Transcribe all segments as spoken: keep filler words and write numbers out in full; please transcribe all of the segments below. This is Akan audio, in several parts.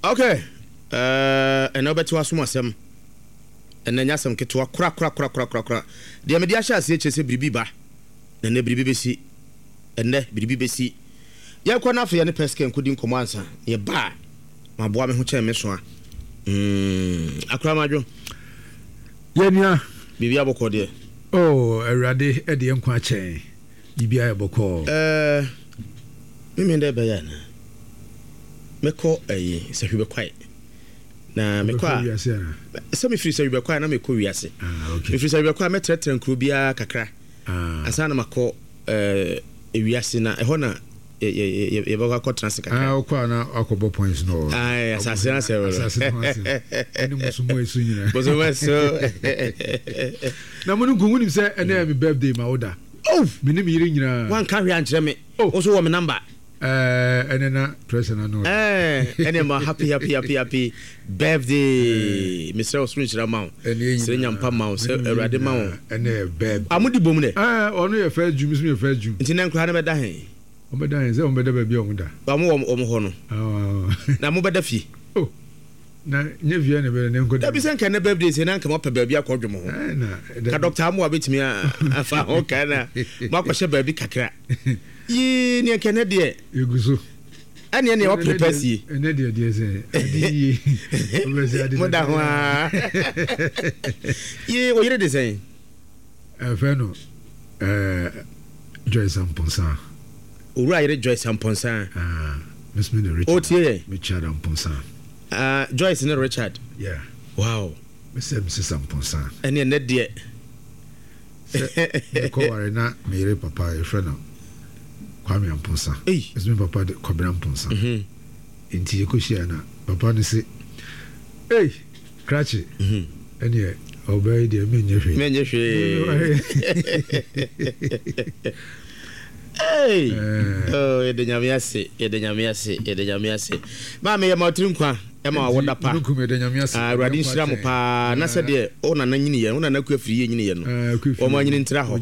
Okay, ɛnɛ wobɛte w'asom asɛm. Ɛnɛ nyɛ asɛm ketewa korakorakorakorakora. Deɛ mede ahyɛ aseɛ kyerɛ sɛ biribi ba, na ɛnɛ biribi bɛsi. Ɛnɛ biribi bɛsi. Yɛnkɔ no afei yɛne Pɛskɛ nkɔdi nkɔmmɔ ansa. Yɛba a, maboa me ho kyɛn me soa. Mm, akora madwo. Yɛnua. Biribi abɔkɔ deɛ. Oh, Awurade ɛde yɛn nkwa akyɛn. Biribi ayɛ bɔkɔɔ. Ɛɛ, mímí dɛ bɛyɛ ana? Mɛkɔ ɛyi Sɛhwi Bɛkwae. Na mekɔ a, sɛ mefiri Sɛhwi Bɛkwae na mekɔ wiase. Ah, okay. Mefiri Sɛhwi Bɛkwae mɛtrɛtrɛ nkuro biara kakra. Ah. Ansa na makɔ ɛɛ ewiase na ɛhɔ na yɛbɛkɔ akɔtena ase kakra. Ah, wokɔ a na akɔbɔ points no. Ayi, asase na sɛ asase no ase. Ɛne musumu esu nyinaa. Musumu esu. Na mo no nkunku nim sɛ ɛnɛ yɛ mi birthday ma wo da. Oh! Me ne me yere nyinaa. Wanka hwee ankyerɛ me. Oh! Wo nso wɔ me number. Ɛɛ, ɛnɛ na pressure na no. Ɛɛ, ɛnɛ ma happy happy happy happy birthday. Mesrɛ wo soro nhyira ma wo. Srɛ nyampa ma wo sɛ Awurade ma wo. Ɛnɛ yɛ birthday. A mo di bom dɛ? Ɛɛ, ɔno yɛ first June, mi nso yɛ first June. Nti nɛ nkura no bɛda he? Wɔn bɛda he sɛ wɔn bɛda baabi a wɔn da. Wɔn wɔ wɔn hɔ no. Na mo bɛda fie? Oh, na nye fie na bɛda ne nkɔ da. Dabi sɛ nka ne birthday sɛ na nka mo apɛ baabi akɔ dwom ho. Ka Doctor Amoah bɛtumi afa ho ka na mo akɔhyɛ baabi kakra. Yii, neɛ nka ɛnɛ deɛ. Egu so. Ɛneɛ neɛ wapere pɛ sie. Ɛnɛ deɛ deɛ sɛ ade yie. Mo da ho aa. Yii, wo yere de sɛn? Ɛfɛ no ɛɛ Joyce Amponsah. Owura yere Joyce Amponsah. Ah, Miss me ne Richard. Otie yɛ. Richard Amponsah. Ah, Joyce ne Richard. Yeah. Wow. Mesɛ Missus Amponsah. Ɛneɛ nɛ deɛ. Sɛ mekɔware na me yere papa yɛfrɛ no Kwame Amponsah. Ei. Ɛsɛ me papa de Kwabena Amponsah. Mm-hmm. Nti yɛkɔhyia na papa no se, ei, krakye. Mm-hmm. Ɛneɛ ɔbaa yi deɛ menyɛ hwee. Menyɛ hwee. Ei. Oh, yɛde Nyame ase, yɛde Nyame ase, yɛde Nyame ase. Maame yɛ ma ɔtiri nkwa, ɛma wa wɔda pa. Awurade nhyira mo paa. Na sɛdeɛ wo nana nyini yɛ, wo nana kua firi yɛ nyini yɛ no. Wɔn anyini ntra hɔ.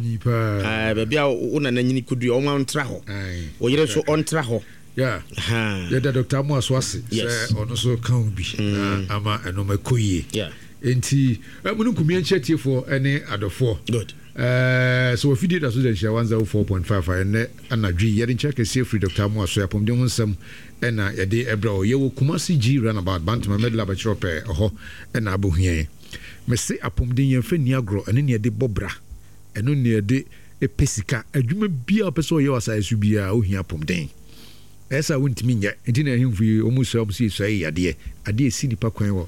Baabi a wo nana nyini kodu wɔn ntra hɔ. Wo yere nso ɔntra hɔ. Yeah. Yɛda Doctor Amoah so ase sɛ ɔno nso ka ho bi na ama ɛnom ɛkɔ yie. Enti mununkum yɛn nkyia tiefoɔ ne adɔfoɔ. Good. Ɛɛ sɛ wafidie da so da nhyira one zero four point five a ɛnnɛ anadwo yi yɛde nkyia kɛseɛ firi Doctor Amoah so apɔmuden ho nsɛm ɛna yɛde ɛbrɛ wo. Yɛwɔ Kumasi G runabout Bantama Medlab akyerɛ pɛɛ ɛhɔ ɛna abɛhu yɛn. Mese apɔmuden yɛmfa nni agorɔ, ɛno ne yɛde bɔ bra, ɛno ne yɛde pɛ sika. Adwuma biara wopɛ sɛ ɔyɛ wɔ asase so biara wohia apɔmuden. Ɛyɛ sɛ a wontumi nyɛ. Nti na ahemfo yi wɔn sua wɔn sɛ yɛsua yɛ yadeɛ. Adeɛ a ɛsi nipa kwan wɔ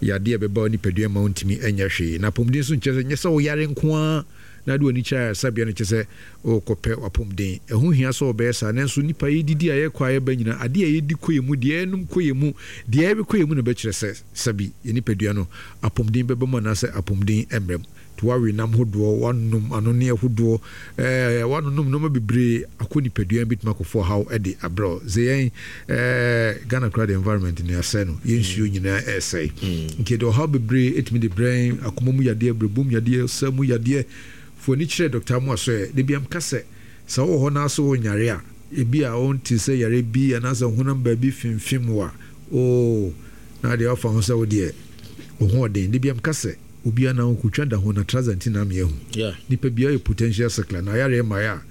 yadeɛ a ɛbɛba wo nipadua ma wontumi nyɛ hwee. Na apɔmuden nso nkyerɛ sɛ nyɛ sɛ woyare nko ara na wode w'ani kyerɛ ayaresabea no kyerɛ sɛ worekɔpɛ w'apɔmuden. Ɛho hia sɛ wɔbɛyɛ saa nanso nipa yɛdidi a yɛkɔ a yɛba nyinaa adeɛ a yɛdi kɔ yɛn mu, deɛ yɛnom kɔ yɛn mu, deɛ yɛwe kɔ yɛn mu na ɛbɛkyerɛ sɛ sɛbi yɛn nipadua no apɔmuden bɛba mu anaasɛ apɔmuden mmra mu. Nti woawe nam hodoɔ, woanom anonneɛ hodoɔ, ɛɛ woanonom nneɛma bebree akɔ nipadua mu bɛtumi akɔfa ɔhaw de abrɛ wo. Sɛ yɛn ɛɛ Ghana koraa de environment no yɛasɛe no, yɛn nsuo nyinaa ɛresɛe. Nti yɛde ɔhaw bebree ɛtumi de brɛ yɛn, akoma mu yadeɛ, berɛbo mu yadeɛ, ɔsa mu yadeɛ. Fo ani kyerɛ Dɔkta Amoah so ɛ. Da biara meka sɛ, sɛ wowɔ hɔ na sɛ wonyare a, ebi a wonte sɛ yare bi anaasɛ honam baabi femfem wo a, oo, na deɛ woafa ho sɛ wo deɛ wo ho ɔden. Da biara meka sɛ, obiara na ɔnkotwa da ho na trouser nti na ame ahu. Nipa biara yɛ potential sickler na ayareɛ mmaeɛ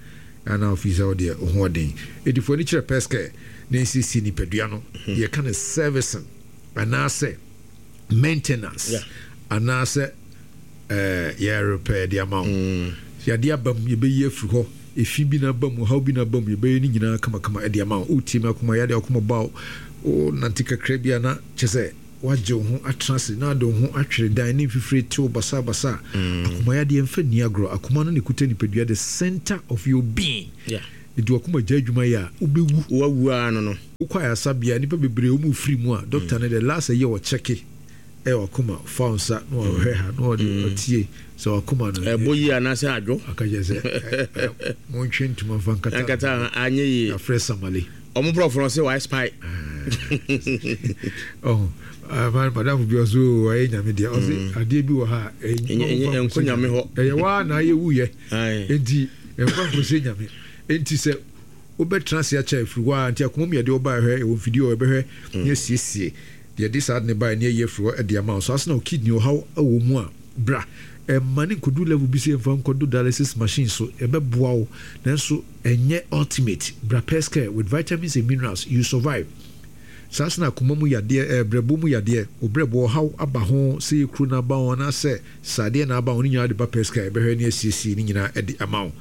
a ana ofii sɛ wodeɛ wo ho ɔden. Enti fo ani kyerɛ Pɛskɛ na nsiesie nipadua no. Yɛka no servicing anaasɛ maintenance anaasɛ eh, yɛ repair de ama wo. Yadeɛ aba mu yɛbɛyi afiri hɔ, efi bi na aba mu, ɔhaw bi na aba mu, yɛbɛyɛ ne nyinaa kamakama de ama wo. Wotie me akoma yadeɛ akoma ba wo, nante kakra bi a na kyɛ sɛ woagye wo ho atena ase na ade wo ho atwere dan ne mfifire tew basabasa. Akoma yadeɛ mfa nni agorɔ. Akoma no na ɛkuta nipadua, the center of your being. Nti wakoma gya adwuma yɛ a, wobɛwu. Wawu ara no no. Wokɔ ayaresabea, nnipa bebree wɔn firi mu a, doctor no the last ɛyɛ ɔkyɛke ɛyɛ wakoma, fa wo nsa na wahwɛ ha na ɔde ɔtie sɛ wakoma no ɛbɔ yie anaasɛ adwo. Aka kyerɛ sɛ montwe ntoma mfa nkata nkata anyɛ yie. Afrɛ Samale. Ɔmo borɔfo no sɛ wayɛ spy. Ɔho madamfo bi ɔso ɔyɛ nyame deɛ ɔse adeɛ bi wɔ ha a ɛnkɔ nyame hɔ. Ɛyɛ waa na ayɛ wuyɛ enti ɛmfa nkɔsɛ nyame. Enti sɛ wobɛtena ase akyɛ afiri hɔ a nti akoma mu yɛde ɔba ɛhwɛ ɛwɔ mfidie ɔ ɛbɛhwɛ ne asiesie Deɛ de saa de ne baeɛ ne ayi afiri hɔ de ama wo. Saa nso na wo kidney ɔhaw wɔ mu a, bra. Ɛmma no nkɔduru level bi sɛ yɛmfa nkɔdo dialysis machine so. Ɛbɛboa wo nanso ɛnyɛ ultimate. Bra Pescare with vitamins and minerals, you survive. Saa nso na akoma mu yadeɛ, ɛɛ brɛbo mu yadeɛ, wo brɛbo ɔhaw aba ho, sɛ yɛ kuro na aba ho anaasɛ sradeɛ na aba ho, ne nyinaa de ba Pescare, yɛbɛhwɛ ne asiesie ne nyinaa de ama wo.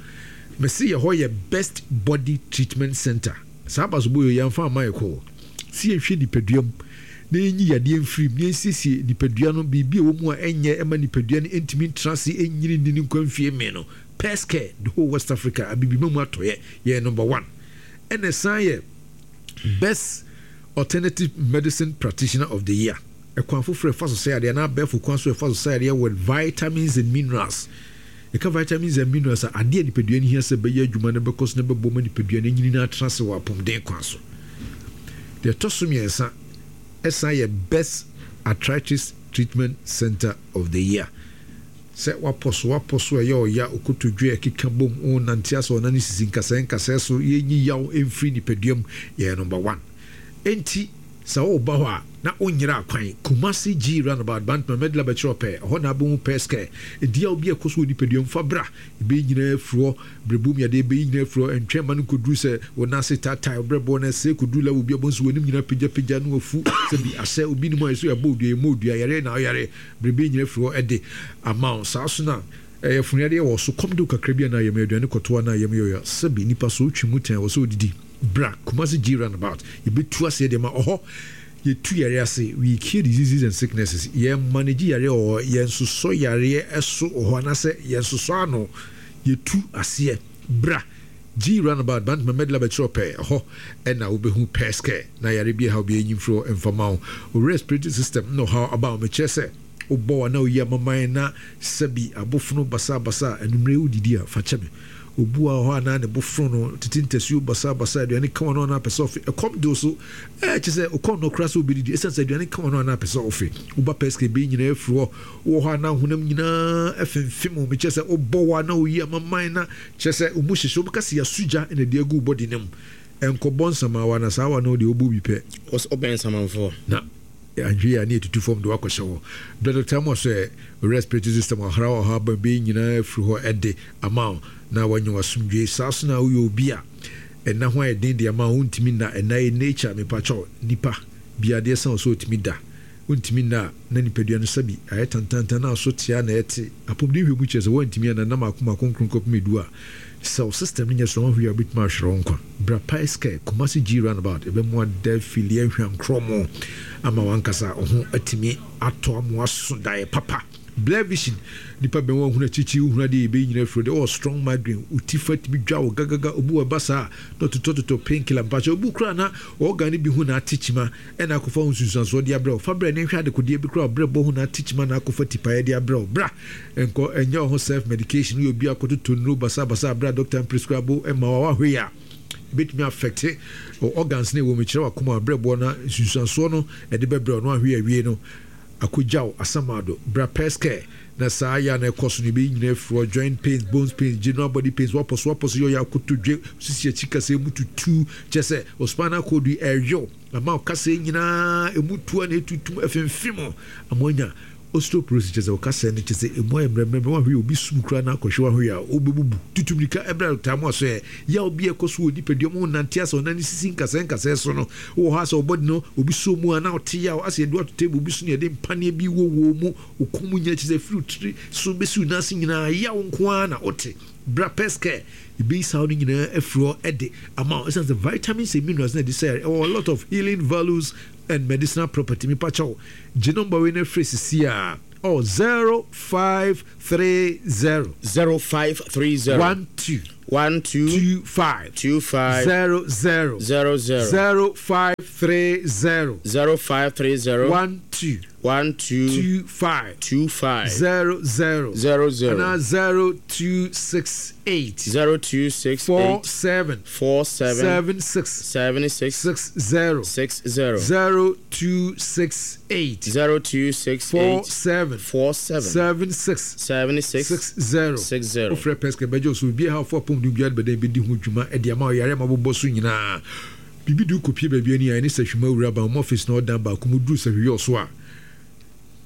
Mese yɛ hɔ yɛ best body treatment center. Saa abasobɔ yei yɛamfa amma yɛ kɔ. Sɛ yɛnhwɛ nipadua mu na yɛnyi yadeɛ mfiri mu na yɛnsiesie nipadua no, biribi a ɛwɔ mu a ɛnyɛ ɛma nipadua no ntumi ntena ase nnyini nni ne nkwa mfie mmee no, Pescare, the whole West Africa, Abibima mu atɔeɛ, yɛyɛ number one. Ɛna ɛsan yɛ Best Alternative Medicine Practitioner of the Year. Ɛkwan foforɔ a ɛfa so sɛ yadeɛ anaa abɛɛfo kwan so a ɛfa so sɛ yadeɛ with vitamins and minerals. Yɛka vitamins and minerals a, adeɛ a nipadua no hia sɛ ɛbɛyɛ adwuma na ɛbɛkɔ so na ɛbɛboa ma nipadua no anyini na atena ase wɔ apɔmuden kwan so. Deɛ ɛtɔ so mmiɛnsa, ɛsan yɛ Best Arthritis Treatment Center of the Year. Sɛ woapɔ so, woapɔ so a ɛyɛ ɔya, okotodwe a ɛkeka bom, wonante asɛ ɔnan sisi nkasɛɛ nkasɛɛ so, yɛnyi yaw mfiri nipadua mu, yɛyɛ number one. Enti sɛ woreba hɔ a, na wonyera kwan. Kumasi G Runabout, Bantama, Medla bɛkyerɛ wo pɛɛ. Ɛhɔ na wobɛhu Pescare. Enti yaw bi a ɛkɔ so wɔ nipadua mu, fa bra. Ɛbɛyi nyinaa afiri hɔ. Berɛbo mu yadeɛ bɛyi nyinaa afiri hɔ. Ɛntwɛn mma no nkɔduru sɛ wo nan ase taatae, wo berɛboɔ no ɛsɛe kɔduru level bi a wobɛhu sɛ w'anim nyinaa pagyapagya na wafu sɛ bi asɛ. Obi nim a ɛsɛ yɛabɔ wo dua, yɛmmɔ wo dua, yareɛ na woyare. Berɛ nyinaa afiri hɔ de ama wo. Saa nso na ɛyɛ funuyadeɛ wɔ so. Kɔm de wo kakra bi anaa yam aduane kɔto anaa yam yɛ ɔya. Sɛbi nipa so wotwe mu tɛn wɔ sɛ odidi. Bra Kumasi G roundabout yɛbɛtu aseɛ de ama ɔhɔ. Yɛtu yareɛ ase. We cure diseases and sicknesses. Yɛn manage yareɛ wɔ hɔ. Yɛnsosɔ yareɛ so wɔ hɔ anaasɛ yɛnsosɔ ano. Yɛtu aseɛ. Bra G roundabout Bantama Medla bɛkyerɛ ɔpɛ. Ɛhɔ ɛna wobɛhu Pescare na yare bi ɛhaw biara nyi mfiri hɔ mfa ma wo. Wo respiratory system na ɔhaw aba wo. Mekyerɛ sɛ wobɔ wa na woyi amaman na sɛbi abofono basabasa a anwummere wodidi a fa kyɛ me. Obu wɔ hɔ a na ne bo fono no, tete ntasuo basabasa, aduane ka w'ano a na apɛ sɛ ɔfe, ɛkɔm de wo so, ɛɛ kyerɛ sɛ wokɔ nnɔ koraa sɛ wobɛdidi ɛsiane sɛ aduane ka w'ano a na apɛ sɛ ɔfe. Woba pɛsika ebien nyinaa afiri hɔ, wowɔ hɔ a na honam nyinaa ɛfemfem wo, mekyerɛ sɛ wobɔ wa na woyi amaman na kyerɛ sɛ wo mu hyehye, wobɛka sɛ yɛaso gya na ɛde agu wo body no mu. Ɛnkɔbɔ nsamaawa na saa wa no deɛ wobɔ bi pɛ. Wobɛn nsamanfoɔ. Na anhwɛ yie a ne yɛtutu fam de wo akɔhyɛ hɔ. Berɛ Doctor Amoah sɛ wo respiratory system ɔhraw ɔhaw aba bɛyi nyinaa afiri hɔ de ama wo na woanya w'asomdwoe. Saa nso na woyɛ obi a ɛna ho ayɛ den de ama wo, wontumi nna, ɛna yɛ nature mepakyɛw, nipa biara adeɛ sa wo sɛ ɔtumi da, wontumi nna a na nipadua no sɛbi ayɛ tantantan na aso tea na ɛte. Apɔmuden nhwɛmu kyerɛ sɛ woantumi anna nna mmaako mmaako nkron kɔpem edu a, sɛ wo system no nyɛ strong a wohwɛ a wobɛtumi ahwere wo nkwa. Bra Pies Care, Kumasi G Roundabout, yɛbɛmoa da afili ahwankorɔmo ama w'ankasa wo ho atumi atɔ ama woaso daeɛ papa. Blur vision, nipa bɛn wo ahunu akyirikyiri wohunu adeɛ yɛbɛyi nyina afiri hɔ deɛ wowɔ strong migraine wo ti fa tumi dwa wo gagaga obi wɔ ɛba saa a na ɔtotɔtotɔ pain killer mpakyɛ obi koraa na organ no bi ho na ate kyima ɛna akɔfa ho nsunsuansoɔ de abrɛ wo fa brɛ ne nhwɛ adekodeɛ bi koraa ɔbrɛ bɔ ho na ate kyima na akɔfa tipaeɛ de abrɛ wo bra nkɔ ɛnyɛ wo ho self medication woyɛ obi akɔtotɔ nnuro basabasa abrɛ a doctor mprescribe ma wo a woahwɛ yi a ebetumi affecte wo organs no ɛwɔ mu kyerɛ wakoma abrɛboɔ na nsunsuansoɔ no ɛde bɛbrɛ wo na woahwɛ yi awie no akogyaw asamado bra pɛskɛ na saa ya na ɛkɔ so no ebeyi nyinaa afiri hɔ joint pains bones pains general body pains wapɔ so wapɔ so yɛ ɔyɛ akotodwe sisi akyi kasa emu tutu kyerɛ sɛ o spinal cord yi ɛreyew ama wo kasa nyinaa emu tu a na etutum ɛfemfem ama anya osteoporosis kyerɛ sɛ wo kasa no kyerɛ sɛ emu ayɛ mmerɛmmerɛ wahwɛ obi sum koraa na akɔhwɛ wahwɛ a wobɛbubu tutu mirika ɛbrɛ taa mu aso ɛ yaw bi a ɛkɔ so wɔ nipadua mu nante asɛ ɔnan sisi nkasɛɛ nkasɛɛ so no wɔ hɔ asɛ ɔbɔde no obi so mu a na ɔte yaw asɛ yɛde ato table bi so na yɛde mpaneɛ bi wɔ wɔ mu okɔn mu nyɛ kyerɛ sɛ firi tiri so bɛsi wo nan ase nyinaa yaw nko ara na wote. Bra Pescare ebeyi saa no nyinaa afiri hɔ ɛde ama wo ɛsiane sɛ vitamins and minerals na ɛde sɛ ɛwɔ a lot of healing values and medicinal property. Mepa kyɛw gye number wei na frɛ sisi a oh zero five three zero zero five three zero one two one two two five two five zero zero zero zero zero five three zero zero five three zero one two one two two five two five zero zero zero zero and zero two six eight zero two six four eight seven four seven seven six seven six six zero six zero zero two six eight zero two six four eight seven four seven seven six seven six six zero six zero. Wofrɛ Pesca bɛgye wo so obi a ha fo apɔmuden biara bɛdɛn bɛdi ho dwuma de ama ɔyare ma bobɔ so nyinaa. Biribi de wokɔpie baabi ani a ɛne Sahwima wura ban ɔmo office na ɔdan baako mu duru Sahwiyɛ so a,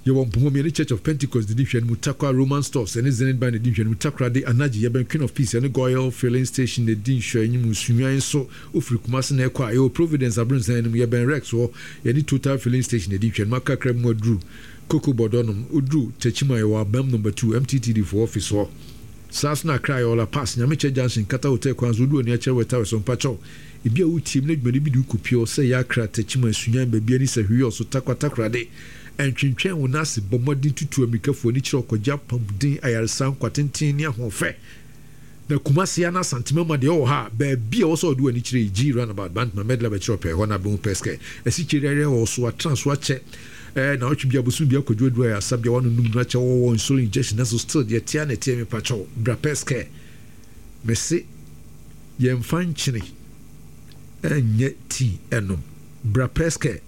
yɛwɔ Mpomom, yɛne Church of Pentecost didi nhwɛ no mu. Takwa, Roman Stores ɛne Zenith Bank didi nhwɛ no mu. Takoradi Anagye, yɛbɛn Queen of Peace ɛne Goil Filling Station na di nhwɛ anim. Sunyani nso, wofiri Kumase na ɛkɔ a, yɛwɔ Providence Abrɔnsan anim, yɛbɛn Rex hɔ, yɛne Total Filling Station na di nhwɛ no mu. Akakra mu aduru Koko Bɔdɔnom. Woduru Techiman, yɛwɔ Abam Number two M T T D fo office hɔ. Saa so na Accra yɛ Ɔla Pass, Nyamekyɛ Junction, Kata Hotel kwan so. Wodu ani akyerɛ wɔ ɛtawɛ so mpakyɛw ebi a wotie mu na dwumadi bi de wokɔpie hɔ sɛ yɛ Accra, Techiman, Sunyani, baabi ani sɛ hweyɛ so Takwa, Takorade, ɛntwentwɛn wo n'ase. Bɔ mmɔden tutu amirikafoɔ ani kyerɛ ɔkɔgye apɔmuden, ayaresa, nkwatenten ne ahoɔfɛ. Na Kumase ana Asantema ma deɛ ɔwɔ ha, baabi a wɔsɛ ɔde w'ani kyerɛ yi, G Roundabout, Bantama Medla bɛkyerɛ ɔpɛ hɔ na abɛhu Pɛskɛ asikyire yare wɔ so atena so akyɛ ɛɛ na ɔtwe bi abosom bi akɔdwo aduru ayɛ asa bia wano num no akyɛ, wɔwɔ insulin injection na so still deɛ tia na ɛteɛ. Mepa kyɛw, bra Pɛskɛ. Mese yɛmfa nkyene ɛnyɛ tea ɛnom. Bra Pɛskɛ.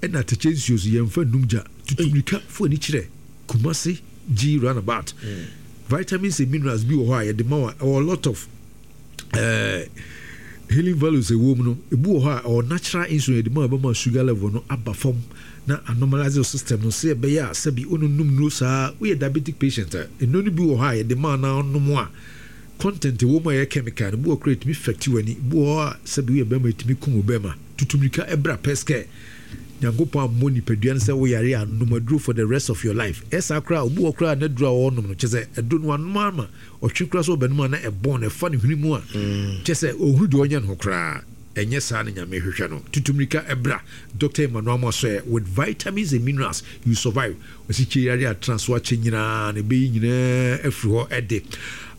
Ɛna atɛkyɛ nsuo so yɛmfa num gya. Tutumirika fo ani kyerɛ Kumase G Roundabout. mm. Vitamins and minerals bi wɔ hɔ a yɛde ma wa, ɛwɔ a lot of uh, healing values ɛwɔ mu no. Ebi wɔ hɔ a ɛwɔ natural insulin, yɛde ma wa, ɛbɛma sugar level no aba fam na anormalize your system no sɛ ɛbɛyɛ a sɛbi ononum nuro saa. Woyɛ diabetic patient a, nnuro no bi wɔ hɔ a yɛde ma na ɔnom a, content ɛwɔ mu a ɛyɛ chemical no bi wɔ kora, ɛtumi affect w'ani. Bi wɔ hɔ a sɛbi woyɛ bɛrima, ɛtumi kum wo bɛrima. Tutumirika ɛbra Pɛskɛ. Nyankopɔn ammɔ nipadua no sɛ woyare a nom aduro for the rest of your life. Ɛsaa koraa, obi wɔ koraa na aduro a ɔnom no kyɛ sɛ aduro no wanom ama ɔtwe koraa sɛ ɔbɛnom a na ɛbɔn no ɛfa ne hwene mu a, kyɛ sɛ ɔhunu deɛ ɔnyɛ no ho koraa. Ɛnyɛ saa no Nyame hwehwɛ no. Tutumirika ɛbra Doctor Emmanuel Amoasoɛ. With vitamins and minerals you survive. Ɔsi yare atena so akyɛ nyinaa na ɛbɛyi nyinaa afiri hɔ ɛde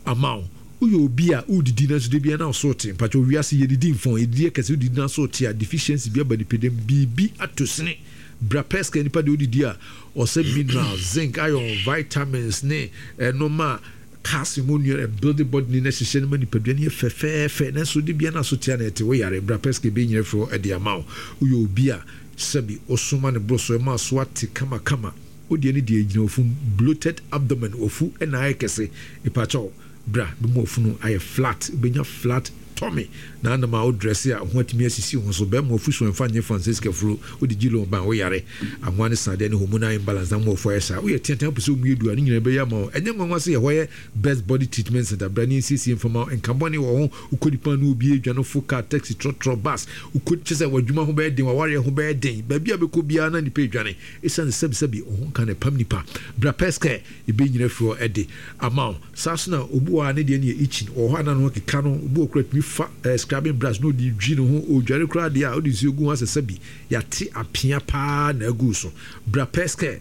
ama wo. Woyɛ obi a wodidi nanso de bia na ɔso te, mpakyɛ wiase yɛdidi mfɔn, yɛdidi ɛkɛsɛ, wodidi na so te a, deficiency bi aba nipadam, biribi ato sene. Bra Pɛska. Nipa deɛ wodidi a ɔsɛ minerals, zinc, iron, vitamins ne ɛnoma calcium onua ɛbuild body ne na hyehyɛ no ma nipadua no yɛ fɛfɛɛfɛ, nanso de bia na so tea na ɛte, woyare, bra Pɛska, ɛbɛyi nyina firi hɔ ɛde ama wo. Woyɛ obi a sɛbi ɔsoma ne boro so ɛma so ate kamakama, wodeɛ ne deɛ gyina ofum, bloated abdomen, ofu ɛna ayɛ kɛse, ipakyɛw bra bɛmu ofunu ayɛ flat, bɛnya flat tummy na anam a wodress a ho atumi asisi ho so. Bɛrima ofu so ɛmfa nye Francisca furo wode gyi loan ban, woyare ahoa ne sadeɛ ne hormonal imbalance na mo ɔfo ayɛ saa, woyɛ teatea pɛ sɛ omu yɛ du a, ne nyinaa bɛyɛ ama wo. Ɛnyɛ nwanwa sɛ yɛhɔ yɛ Best Body Treatment Center. Bra ne nsiesie mfama nka bɔne wɔ ho. Wokɔ nipa no obi adwa no fo, car, taxi, trɔtrɔ, bus, wokɔ kyɛ sɛ w'adwuma ho bɛyɛ den, w'awareɛ ho bɛyɛ den, baabi a bɛkɔ biara na nipa adwane ɛsiane sɛbisɛbi ɔho nka na ɛpam nipa. Bra Pɛskɛ, ɛbɛnyina firi hɔ ɛde ama wo. Saa so na obi wɔ ha ne deɛ no yɛ itching wɔ hɔ a na no keka no. Obi wɔ kora tumi fa eh, scrubbing brush na ɔde dwi ne ho, ɔdware koraa deɛ a ɔde nsuo gu ho asɛ sɛbi yɛate apea paa na agu so. Bra Pɛskɛ,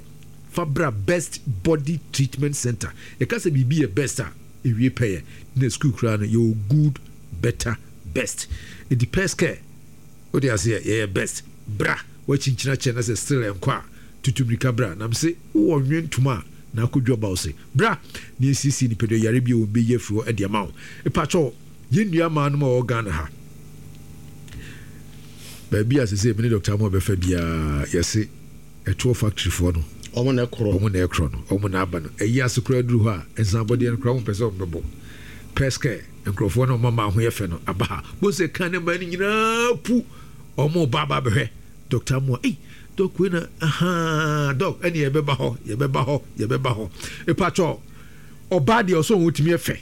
fa bra Best Body Treatment Center. Yɛka sɛ biribi yɛ best a, ewie pɛyɛ na school koraa no yɛwɔ good, better, best. Nti Pɛskɛ wode aseɛ yɛyɛ best. Bra wakyinkyina kyɛ na sɛ still ɛnkɔ a, tutu mirika bra. Nam se wowɔ nwe ntoma a na akɔdwa ba wo se bra na yɛsiesie nipadua yare bi a wɔn bɛyi afiri hɔ de ama wo. Mepakyɛw, yɛn nua maa nom a wɔwɔ Ghana ha, baabi a sɛ sɛ mene Doctor mu a bɛfa biara, yɛse ɛtoɔ factory foɔ no. Ɔmo na ɛkorɔ. Ɔmo na ɛkorɔ no, ɔmo na aba no ɛyi ase koraa duru hɔ a, nsanbɔdeɛ no koraa ɔmo pɛ sɛ ɔmo bɛbɔ. Pɛskɛ nkurɔfoɔ no, ɔmo ama ho yɛ fɛ no aba ha bo sɛ kan ne mmaa no nyinaa pu ɔmo ba aba abɛhwɛ Doctor Amoa. Ei, doc wei na ahaa, doc ɛne yɛbɛba hɔ, yɛbɛba hɔ, yɛbɛba hɔ. Epakyɛw, ɔbaa deɛ ɔsɔ wɔn tumi ɛfɛ.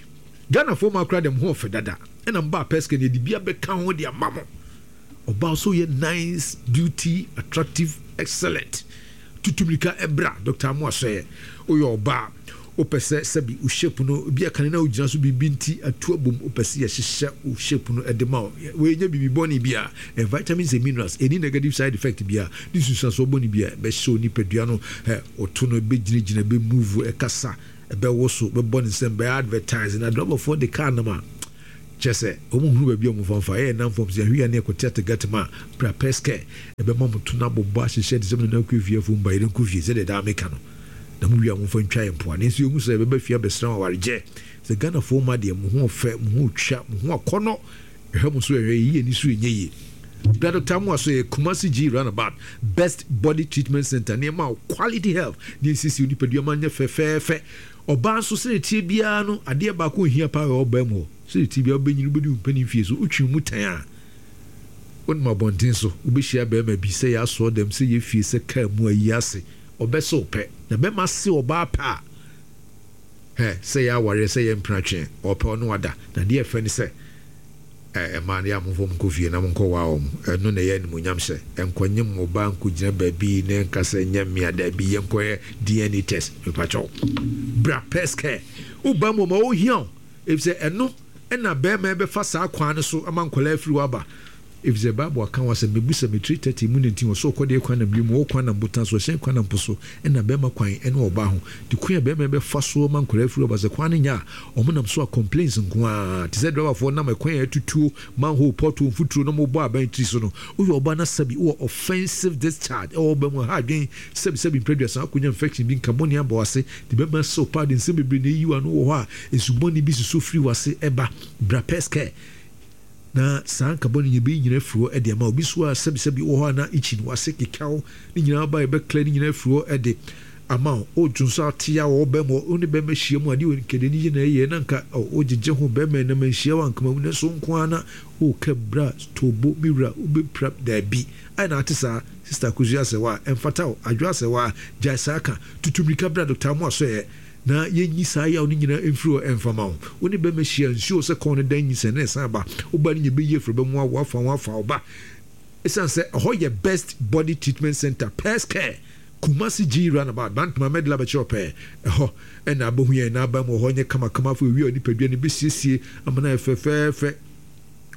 Ghanafoɔ mu akora dɛm ho ɔfɛ dada, ɛna mbaa Pɛskɛ ne yɛde bi abɛka ho de ama mo. Ɔbaa so yɛ nice, beauty, attractive, excellent. Tutumirika ɛbra Doctor Amoa sɔɛ. Woyɛ ɔbaa wopɛ sɛ sɛbi wo shape no bi akane na wogyina so biribi nti atu abom, wopɛ sɛ yɛhyehyɛ wo shape no ɛde ma wo, wɔyɛnya biribi bɔne bi a ɛ vitamins and minerals, ɛni negative side effect bi a ne nsunsuansoɔ bɔne bi a ɛbɛhyɛ wo nipadua no ɛ ɔto no ɛbɛgyinagyina, ɛbɛmove, ɛkasa, ɛbɛwo so, bɛbɔ ne nsɛm, bɛyɛ advertise na drɔbɔfoɔ de car nam a kyɛ sɛ ɔmo hunu baabi a ɔmo fa mfa ɛyɛ nam fam sɛ ahwia ne ɛkɔte ategate mu a, bra Pɛskɛ, ɛbɛma mo to no abobɔ ahyehyɛ te sɛ mo nana kɔ efie afo mba yɛrɛ nkɔ fie sɛdeɛ daa meka no na mo wie a momfa ntwa yɛ mpoa ne nso yɛhu sɛ yɛbɛba fie abɛsra wɔn awaregye sɛ Ghanafoɔ ma deɛ mo ho ɔfɛ, mo ho twa, mo ho akɔnɔ, ɛhwɛ mo so, ɛhwɛ yɛyi ani so ɛnyɛ yie. Bra Doctor Amoa so yɛ Kumasi G Roundabout, Best Body Treatment Center. Nneɛma a quality health ne nsiesie nipadua ma nyɛ fɛfɛɛfɛ. Ɔbaa nso, sɛdeɛ tie biara no, adeɛ baako ohia paa wɔ ɔbaa mu hɔ, sɛdeɛ tie biara wobɛnyini, wobɛdi wo mpanin fie so, wotwi mu tan a Wonim abɔnten so, wobɛhyia bɛrima bi sɛ yɛ asɔɔ dɛm, sɛ yɛ fie, sɛ kaa mu ayi ase, ɔbɛsɛ wo pɛ. Na bɛrima se ɔbaa pɛ a, hɛ, sɛ yɛ awareɛ, sɛ yɛ mpenatwe, ɔpɛ ɔno wada. Na deɛ ɛfɛ ne sɛ, ɛmaa no yɛ a momfa mo nkɔ fie na monkɔ waa wɔn. Ɛno na ɛyɛ animuonyam hyɛ. Ɛnkɔnyem ɔbaa nkɔgyina baabi na ɛnka sɛ nyɛ mmea. Daabi, yɛnkɔyɛ D N A test. Mepakyɛw, bra Pɛs Care. Woba mu ma wohia wo, ɛfisɛ ɛno ɛna bɛrima bɛfa saa kwan no so ama nkɔlaa afiri waba, ɛfisɛ Bible aka wɔ sɛ mebusa metiri thirty mu nineteen wɔ so ɔkɔdeɛ kwan nam wiem, wɔ kwan nam botan so, ɔhyɛn kwan nam po so, ɛna bɛrima kwan ɛne ɔbaa ho de kwan a bɛrima bɛfa so ma nkɔlaa afiri waba. Sɛ kwan no nya a, ɔmo nam so a complaints nko a te sɛ driverfoɔ nam ɛkwan a ɛtutuo, manhole, pothole, mfuturo na ɔmo bɔ aban tiri so no. Woyɛ ɔbaa na sɛbi wɔ offensive discharge ɛwɔ ɔbaa mu ha, adwen sɛbi sɛbi mprɛduasa akɔnya infection bi, nka bɔne abɔ ase de bɛrima sɛw paa de nsɛm bebree na eyi wa no wɔ hɔ a nsubɔne bi soso firi wase ɛba. Bra Pɛs Care na saa nkabɔ no yɛbɛyi nyina afiri hɔ de ama obi so a sɛbisɛbi wɔ hɔ a na ikyi no wase kekaw ne nyinaa ba, yɛbɛkla ne nyinaa afiri hɔ de ama wo. Wodwo nso ate a wɔ bɛrima, wo ne bɛrima hyia mu adeɛ nkɛde ne gyina yɛ na nka wogyegye ho bɛrima nam anhyia wo ankama mu ne so nko ara na woka bra tobo me wura wobɛpira. Daabi, ayɛ na ate saa. Sister Akosua asɛ wa ɛmfata wo adwo asɛ wa gyae saa ka tutu mmirika bra Doctor Amo asɔɛ na yɛnyi saa yaw no nyinaa mfiri hɔ ɛmfa ma wo. Wo ne bɛrima hyia nsuo sɛ kɔn no dan nyinsɛn na ɛsan ba, woba no nyɛ bɛyi afiri bɛmu awo afa ho afa wo ba, ɛsiane sɛ ɛhɔ yɛ Best Body Treatment Center, Pɛs Care, Kumasi G Roundabout, Bantama Medla bɛkyerɛ pɛɛ. Ɛhɔ ɛna abɛhu yɛn n'aba mu. Hɔ nyɛ kamakama afɔ ewi a nipadua no bɛsiesie ama no ayɛ fɛfɛɛfɛ.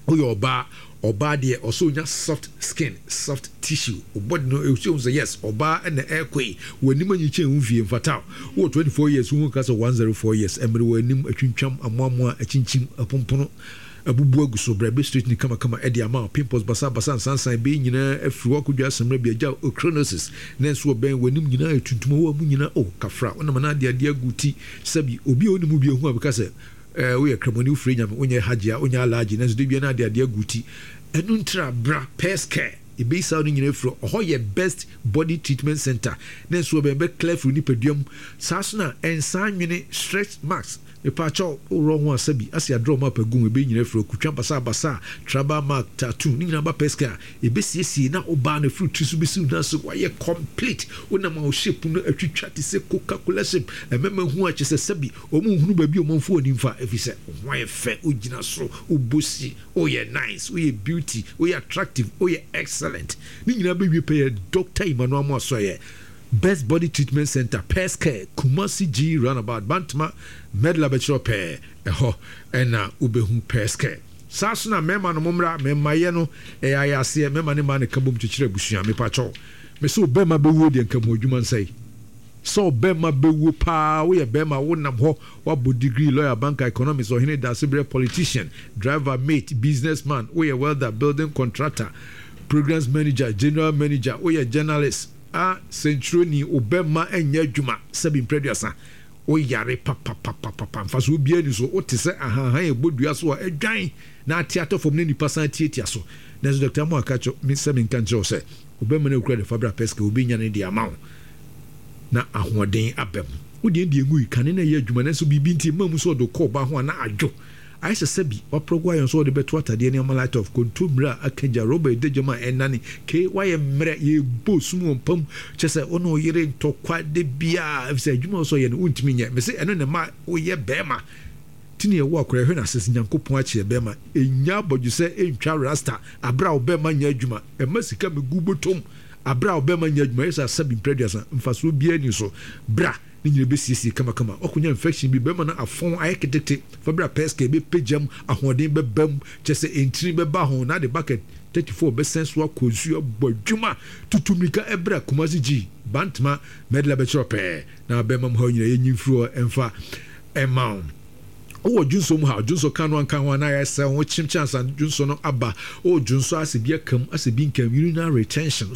Woyɛ ɔbaa, ɔbaa deɛ ɔsɛ onya soft skin, soft tissue, o body no esi ohun sɛ yes, ɔbaa ɛna ɛɛkɔ yi. Wɔ anim anyi kyɛn ho fie mfata. Wɔ twenty four years ohun kasa one zero four years ɛmiri wɔ anim atwintwam, amoamoa, akyinkyim, aponpono abubu agu so, brɛ bɛ straight ni kamakama ɛde ama wo. Pimples basabasa, nsansan bɛyi nyinaa afiri hɔ akɔdwa asɛmmerɛ bi agya ochronosis na nso ɔbɛn w'anim nyinaa yɛ tuntum wɔ mu nyinaa o kafra wonam na ade adeɛ agu ti. Sɛbi, obi a ɔnim bi ehu a bɛka sɛ ɛɛ woyɛ kramoni, wofiri Nyame, wonyɛ hajj a wonyɛ alhaji, nanso de bia na ade adeɛ agu ti. Ɛno ntira bra Pɛs Care, ebi saa no nyinaa firi ɔhɔ. Yɛ Best Body Treatment Center na nso ɔbɛn bɛ clear firi nipadua mu. Saa so na ɛnsan nwene stretch marks, mepaakyɛw, worɔ ho asa bi ase adorɔ mu apagu mu, ebe nyinaa firi okutwa basabasa, tribal mark, tattoo ne nyinaa ba Pɛs Care, ebesiesie na ɔbaa no firi tiri so besi nan so wayɛ complete. Wonam a o shape no atwitwa te sɛ Coca Cola shape. Ɛmɛma hu akyɛ sɛ sɛbi wɔn nhunu baabi a wɔn mfo wɔn nimfa, efi sɛ ho ayɛ fɛ, ogyina soro, obɔ si, oyɛ nice, oyɛ beauty, oyɛ attractive, oyɛ excellent. Ne nyinaa bɛwie pɛ yɛ Doctor Emmanuel Amoasoyɛ, Best Body Treatment Center, Pɛs Care, Kumasi G Roundabout, Bantama Medla bɛkyerɛ pɛɛ. Ɛhɔ ɛna wobɛhu Pɛs Care. Saa so na mmarima no mommra. Mmarima no ɛyɛ ayɛ aseɛ, mmarima ne mmaa ne ka bom kyekyere abusua. Mepakyɛw, mesɛ ɔbɛrima bɛwuo deɛ nka mu adwuma nsɛe sɛ ɔbɛrima bɛwuo paa. Woyɛ bɛrima, wonam hɔ, wabɔ degree, lawyer, banker, economist, ɔhene dasebrɛ, politician, driver, mate, businessman, woyɛ welder, building contractor, programs manager, general manager, woyɛ journalist a sɛntwerɛni, ɔbɛrima nyɛ adwuma sɛbi mprɛduasa, woyare papapapapa, mfa so obiara ni so wote sɛ ahahan ɛbɔ dua so a ɛdwan na ate atɔ fam na nipa san tiatia so. Nanso Doctor Mo aka kyerɛ me sɛ menka nkyerɛ wo sɛ ɔbɛrima no akura de fa bra Pɛska, obɛnya no de ama wo na ahoɔden aba mu. Wodeɛ deɛ ngu yi kane na ɛyɛ adwuma, nanso biribi nti mma mu sɛ ɔde kɔ ɔba ho a na adwo ayɛ sɛ sɛbi waprɔgo ayɛ nso ɔde bɛto atadeɛ ne ama light off, kontommire a aka gya, rɔba ɛda gyam a ɛnane ke wayɛ mmerɛ, yɛbɔ sum wɔ mpam kyɛ sɛ wo ne wo yere ntɔkwa de biaa, ɛfisɛ adwuma a wɔsɛ ɔyɛ no wontumi nyɛ. Mese ɛno ne ma woyɛ bɛrima tini ɛwɔ akora ɛhwɛ n'ase sɛ Nyankopɔn akyerɛ bɛrima ɛnya abɔdwo sɛ ɛntwa rasta aberɛ a wo bɛrima nyɛ adwuma, ɛma sika mɛgu bɔtɔm aberɛ a wo bɛrima nyɛ adwuma, ɛyɛ sɛ asabi mprɛduasa mfasoɔ biara ni so. Bra ne nyina bɛsiesie kamakama. Wakɔnya infection bi, bɛrima no afɔn ayɛ ketete, fa bra Pɛska, ɛbɛpagya ahoɔden bɛba mu, kyɛ sɛ ɛntini bɛba ho na de bucket thirty-four bɛsɛn so akɔ nsuo abɔ adwuma. Tutu mmirika ɛbrɛ Kumasi G, Bantama Mɛdla bɛkyerɛ pɛɛ na bɛrima mu ha nyina yɛnyi mfiri hɔ ɛmfa ɛma wo. Wowɔ dwonso mu ha, dwonso ka no anka ho anaa yɛsɛ ho kyemkyɛ ansa dwonso no aba. Wowɔ dwonso asɛ bi akam asɛ bi nkam, urinary retention.